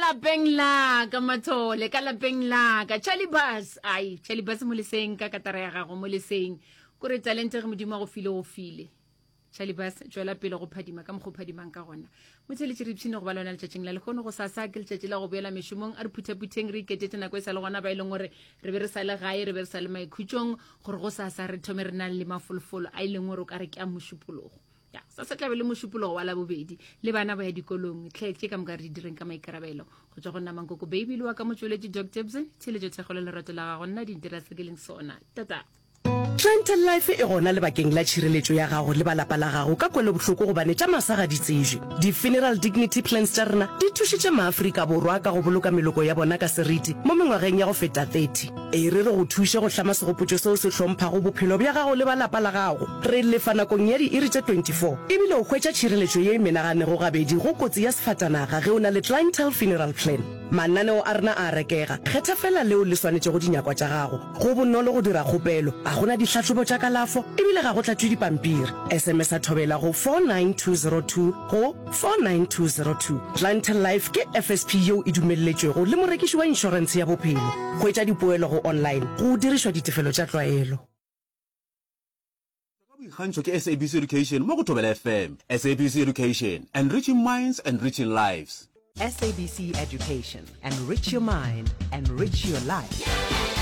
lapeng la ka mathole ka lapeng la ka Charlie Bass ai Charlie Bass mo leseng ka katara ya gago mo leseng kore talente ge modimo a go file go file Charlie Bass tšwela pele go phadima ka mokgwa o phadimang ka gona motheletše re ipshine go ba le wena letšatšing la lehono go sasa ke letšatši la go boela mešomong a re phuthaputheng re iketetše nako e sa le gona ba e leng gore re be re sa le gae re be re sa le maikhutšong gore go sasa re thome re na le mafolofolo a e leng gore o ka re ke a mošupologo ya sa se tlabe le mošupologo wa labobedi le bana ba ya dikolong tlhe tše ka moka re di direng ka maikarabelo go tswa go nna mankoko baby le wa ka motšweletši doc tebson tshiletšo thekgo le lerato la gago nna dintira se ke leng sona tata Clientele Life e gona lebakeng la tšhireletšo ya gago le ba lapa la gago ka kwelobohloko gobane tša masa ga di tsebje. Di-Funeral Dignity Plans tša rena di thušitše maAfrika Borwa ka go boloka meloko ya bona ka seriti mo mengwageng ya go feta 30. E re re go thuše go hlama segopotšo seo se hlomphago bophelo bja gago le ba lapa la gago. Re lefa nakong ya diiri tše 24 ebile o hwetša tšhireletšo ye e menaganego gabedi go kotsi ya sefatanaga ge o na le Clientele Funeral Plan. Mananeo a rena a a rekega, kgetha feela leo le swanetšego dinyakwa tša gago. Go bonolo go dira kgopelo, ga go na dihlahlobo tša kalafo e bile ga go tlatšwe dipampiri. SMS-a Thobela go 49202 go 49202. Clientele Life ke FSP yeo e dumelletšwego le morekiši wa inšorentshe ya bophelo. Hwetša dipoelo go online go dirišwa ditefelo tša tlwaelo. Ka boikgantšho ke SABC Education mo go Thobela FM. SABC Education, enriching minds, enriching lives. SABC Education, enrich your mind, enrich your life.